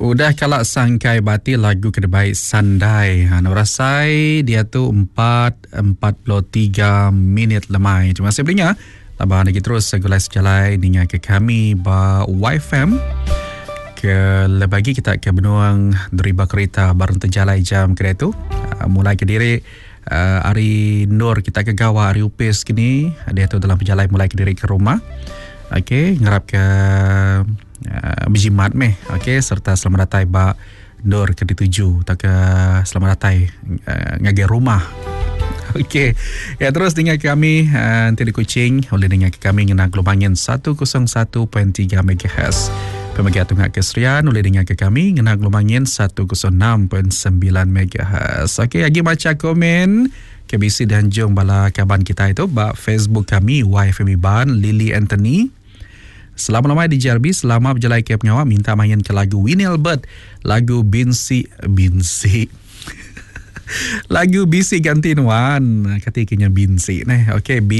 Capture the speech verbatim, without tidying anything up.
Udah kala sangkai bati lagu ke dibai Sandai. Ha, berasai dia tu empat empat puluh tiga minit lemai. Terima kasih beringat. Laban lagi terus segulai sejalai ninga ke kami ba Y F M. Ke lebih lagi kita ke benuang deriba kereta bareng terjalai jam kereta tu. Ha, mulai ke diri uh, hari Nur kita ke gawa hari upis kini. Dia tu dalam perjalanan mulai ke diri ke rumah. Okey, ngarap ke uh, berjimat meh. Okey, serta selamat datang ba Nur ke dituju atau ke selamat datang uh, ngagai rumah. Okey. Ya, terus dengar kami uh, nanti di Kuching boleh dengar kami ngena gelombang seratus satu titik tiga megahertz. Pemagi Tungak Keserian boleh dengar ke kami ngena gelombang seratus enam titik sembilan megahertz. Okey, lagi baca komen K B C dan jom bala kaban kita itu ba Facebook kami Y F M Iban Lily Anthony. Selamat lemai di J R B, selamat berjalan ke pengawal, minta main ke lagu Winnie Albert, lagu Binsi Binsi. Lagu Bisi Ganti Nuan, ketikanya Binsi neh. Okey, B